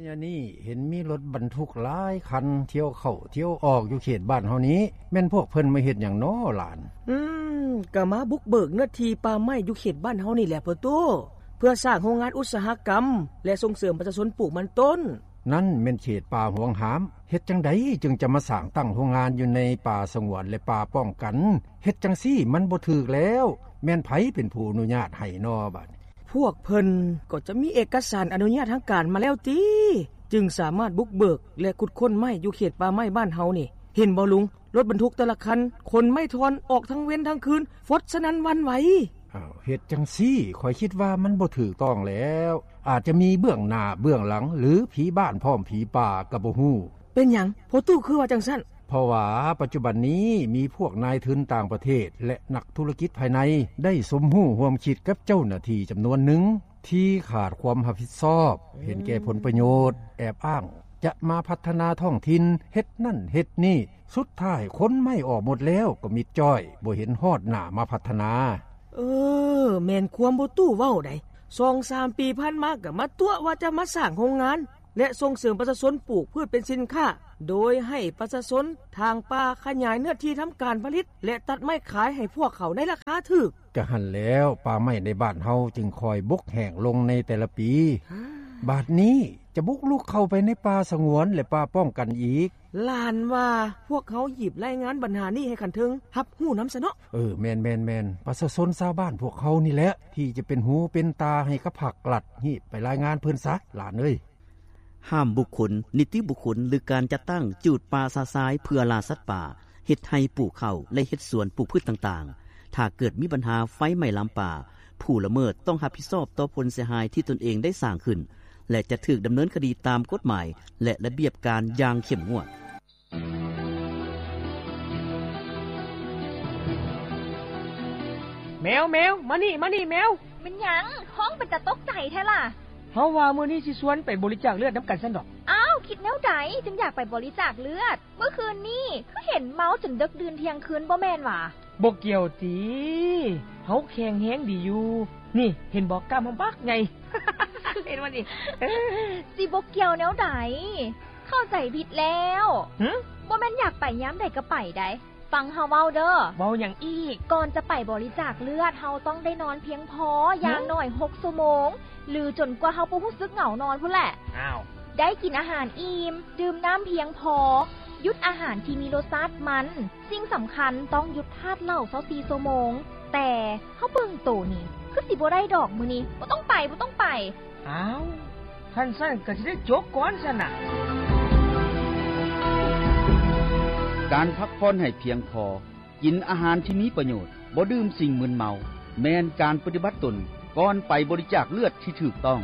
ຍານີ້ເຫັນມີລົດບັນທຸກຫຼາຍຄັນ ທ່ຽວເຂົ້າທ່ຽວອອກຢູ່ເຂດບ້ານເຮົານີ້ ແມ່ນພວກເພິ່ນມາເຮັດຫຍັງນໍຫຼານ? ອືມ ກະມາບຸກເບີກເນື້ອທີ່ປ່າໄມ້ຢູ່ເຂດບ້ານເຮົານີ້ແຫຼະພໍ່ຕູ້ ເພື່ອສ້າງໂຮງງານອຸດສາຫະກຳ ແລະ ສົ່ງເສີມປະຊາຊົນປູກມັນຕົ້ນ. ນັ້ນແມ່ນເຂດປ່າຫວງຫ້າມ ເຮັດຈັ່ງໃດຈຶ່ງຈະມາສ້າງຕັ້ງໂຮງງານຢູ່ໃນປ່າສະຫງວນ ແລະ ປ່າປ້ອງກັນ? ເຮັດຈັ່ງຊີ້ມັນບໍ່ຖືກແລ້ວ ແມ່ນໃຜເປັນຜູ້ອະນຸຍາດໃຫ້ນໍບາດນີ້? ພວກເພິ່ນກໍຈະມີເອກະສານອະນຸຍາດທາງການມາແລ້ວຕິ ຈຶ່ງສາມາດບຸກເບີກ ແລະ ຂຸດຄົ້ນໄມ້ຢູ່ເຂດປ່າໄມ້ບ້ານເຮົານີ້. ເຫັນບໍ່ລຸງ? ລົດບັນທຸກແຕ່ລະຄັນ ຂົນໄມ້ທ່ອນອອກທັງເວັນທັງຄືນ ຟົດສະໜັ່ນຫວັ່ນໄຫວ. ອ້າວ ເຮັດຈັ່ງຊີ້ ຂ້ອຍຄິດວ່າມັນບໍ່ຖືກຕ້ອງແລ້ວ ອາດຈະມີເບື້ອງໜ້າເບື້ອງຫຼັງ ຫຼື ຜີບ້ານພ້ອມຜີປ່າກໍບໍ່ຮູ້. ເປັນຫຍັງພໍ່ຕູ້ຄືວ່າຈັ່ງຊັ້ນ? ເພາະວ່າປັດຈຸບັນນີ້ມີພວກນາຍທຶນຕ່າງປະເທດ ແລະ ນັກທຸລະກິດພາຍໃນ ໄດ້ສົມຮູ້ຮ່ວມຄິດກັບເຈົ້າໜ້າທີ່ຈຳນວນໜຶ່ງ ທີ່ຂາດຄວາມຮັບຜິດຊອບ ເຫັນແກ່ຜົນປະໂຫຍດ ແອບອ້າງຈະມາພັດທະນາທ້ອງຖິ່ນ ເຮັດນັ້ນເຮັດນີ້ ສຸດທ້າຍຂົນໄມ້ອອກໝົດແລ້ວກໍມິດຈ້ອຍ ບໍ່ເຫັນຮອດໜ້າມາພັດທະນາ. ເອີ ແມ່ນຄວາມພໍ່ຕູ້ເວົ້າໃດ໋ ສອງສາມປີຜ່ານມາກໍມາຕົວະວ່າຈະມາສ້າງໂຮງງານ ແລະ ສົ່ງເສີມປະຊາຊົນປູກພືດເປັນສິນຄ້າ ໂດຍໃຫ້ປະຊາຊົນຖາງປ່າ ຂະຫຍາຍເນື້ອທີ່ທຳການຜະລິດ ແລະ ຕັດໄມ້ຂາຍໃຫ້ພວກເຂົາໃນລາຄາຖືກ. ກະຫັ້ນແລ້ວ ປ່າໄມ້ໃນບ້ານເຮົາຈຶ່ງຄ່ອຍບົກແຫ້ງລົງໃນແຕ່ລະປີ. ບາດນີ້ຈະບຸກລຸກເຂົ້າໄປໃນປ່າສະຫງວນ ແລະ ປ່າປ້ອງກັນອີກ. ຫຼານວ່າພວກເຮົາຮີບລາຍງານບັນຫານີ້ໃຫ້ຂັ້ນເທິງຮັບຮູ້ນຳຊະເນາະ. ເອີ ແມ່ນໆໆ ປະຊາຊົນຊາວບ້ານພວກເຮົານີ້ແຫຼະ ທີ່ຈະເປັນຫູເປັນຕາໃຫ້ກັບພັກລັດ ຮີບໄປລາຍງານເພິ່ນຊະ ຫຼານເອີຍ. ຫ້າມບຸກຄົນ, ນິຕິບຸກຄົນ ຫຼື ການຈັດຕັ້ງຈູດປ່າຊະຊາຍເພື່ອລ່າສັດປ່າ ເຮັດໄຮ່ປູກເຂົ້າ ແລະ ເຮັດສວນປູກພືດຕ່າງໆ. ຖ້າເກີດມີບັນຫາໄຟໄໝ້ລາມປ່າ, ຜູ້ລະເມີດຕ້ອງຮັບຜິດຊອບຕໍ່ຜົນເສຍຫາຍທີ່ຕົນເອງໄດ້ສ້າງຂຶ້ນ ແລະ ຈະຖືກດຳເນີນຄະດີຕາມກົດໝາຍ ແລະ ລະບຽບການຢ່າງເຂັ້ມງວດ. ແມວ, ແມວ, ມານີ້, ມານີ້, ແມວ. ແມ່ນຫຍັງ? ຮ້ອງເປັນຕາຕົກໃຈແທ້ລະ. ເຮົາວ່າມື້ນີ້ຊິຊວນໄປບໍລິຈາກເລືອດນຳກັນຊັ້ນດອກ. ອ້າວ, ຄິດແນວໃດຈຶ່ງຢາກໄປບໍລິຈາກເລືອດ? ເມື່ອຄືນນີ້ຄືເຫັນເມົາຈົນເດິກດື່ນທ່ຽງຄືນບໍ່ແມ່ນຫວາ? ບໍ່ກ່ຽວຕິ, ເຮົາແຂງແຮງດີຢູ່. ນີ້, ເຫັນບໍ່, ກ້າມເຮົາບັກໃຫຍ່. ເຫັນບໍ່ນີ້? ຊິບໍ່ກ່ຽວແນວໃດ? ເຂົ້າໃຈຜິດແລ້ວ. ຫຶ? ບໍ່ແມ່ນຢາກໄປຍາມໃດກໍໄປໃດ໋. ຟັງເຮົາເວົ້າເດີ້. ເວົ້າຫຍັງອີກ? ກ່ອນຈະໄປບໍລິຈາກເລືອດ, ເຮົາຕ້ອງໄດ້ນອນພຽງພໍ, ຫື? ຢ່າງໜ້ອຍຫົກຊົ່ວໂມງ ຫຼື ຈົນກວ່າເຮົາບໍ່ຮູ້ສຶກເຫງົານອນພຸ້ນແຫຼະ. ອ້າວ. ໄດ້ກິນອາຫານອີ່ມ, ດື່ມນ້ຳພຽງພໍ, ຢຸດອາຫານທີ່ມີລົດຊາດມັນ. ສິ່ງສຳຄັນ, ຕ້ອງຢຸດທາດເຫຼົ້າຊາວສີ່ຊົ່ວໂມງ. ແຕ່ເຮົາເບິ່ງໂຕນີ້ ຄືຊິບໍ່ໄດ້ດອກມື້ນີ້. ບໍ່ຕ້ອງໄປ, ບໍ່ຕ້ອງໄປ. ອ້າວ, ຄັນຊັ້ນກໍຊິໄດ້ຈົບກ່ອນຊັ້ນນະ. ການພັກຜ່ອນໃຫ້ພຽງພໍ, ກິນອາຫານທີ່ມີປະໂຫຍດ, ບໍ່ດື່ມສິ່ງມຶນເມົາ, ແມ່ນການປະຕິບັດຕົນກ່ອນໄປບໍລິຈາກເລືອດທີ່ຖືກຕ້ອງ.